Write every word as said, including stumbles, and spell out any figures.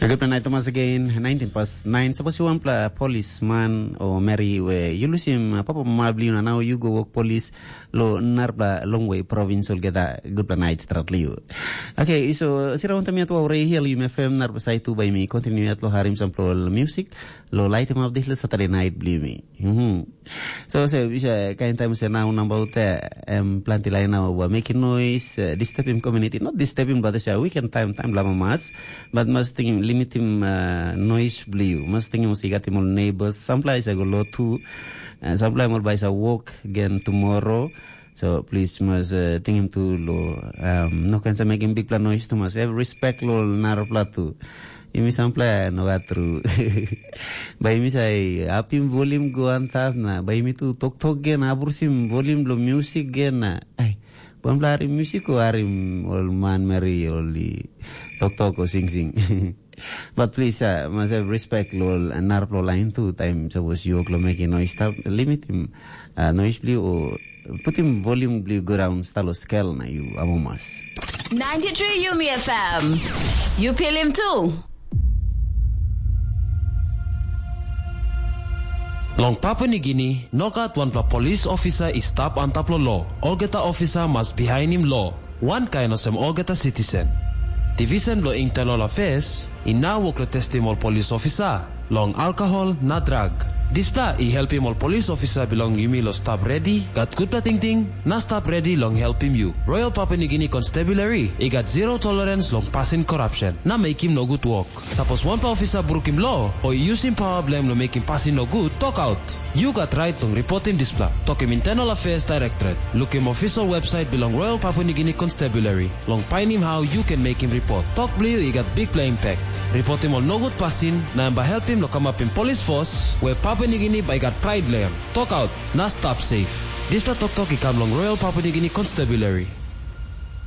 Gutpela nait Thomas again, nineteen past nine. Sapos yu wanpela polisman o meri we yu lusim uh, papa mama bilong yu na nau yu go wok polis lo narapela longwe provins olgeta gutpela nait stratli yu. Okay, so sira wantam yat wa rei hial yu mefem narapela saitu bai mi continue yat lo harim sampela music lo light him up this Saturday night bilong mi. Mhm. So se bisa kain taim se nau nabaut em planti lain nau ua mekim nois, disturbing community, not disturbing but se weekend time time lama mas, but mas tingim limitim nois bliu, mas tingim se gatim ol neighbors, sampla isa go lotu, sampla mol baisa walk again tomorrow. So please mas uh, tingim tu lo um, no kan sa mekim bikpela nois tu mas have respect lo narapla tu. Imi sampla no gat tru. Bai imi sa apim volim go antap na bai imi tu toktok gen abrusim volim lo music gen na. Ai, buan bla harim music o harim ol man meri ol i toktok o sing sing. But please, uh, must have respect lo narapla lain tu time suppose you oklo making noise stop limit him uh, noise blue o putim volume bliu go down stalo skel na yu amomas. Ninety-three Yumi F M. You feel him too. Long Papua Nigini, no gat wanpela polis ofisa i stap antap long lo. Olgeta ofisa mas bihainim lo, wankain olsem olgeta sitisen. Divisen bilong Internal Affairs i nau wok long testim ol polis ofisa long alkohol na drag. Dispela i helpim ol polis ofisa bilong yumi long stap redi, gat gutpela tingting, na stap redi long helpim yu. Royal Papua Nigini Constabulary i gat zero tolerance long pasin korapsen na mekim nogut wok. Sapos wanpela ofisa brukim lo o i yusim pawa bilong em long mekim pasin nogut, tokaut. Yu gat rait long ripotim dispela. Tokim Internal Affairs Directorate. Lukim official website bilong Royal Papua Nigini Constabulary. Long painim hau yu ken mekim ripot. Tok bilong yu i gat bikpela impact. Ripotim ol nogut pasin, na em bai helpim long kamapim polis fos, we Papua Nigini bai gat prait long em. Tokaut, na stap safe. Dispela toktok i kam long Royal Papua Nigini Constabulary.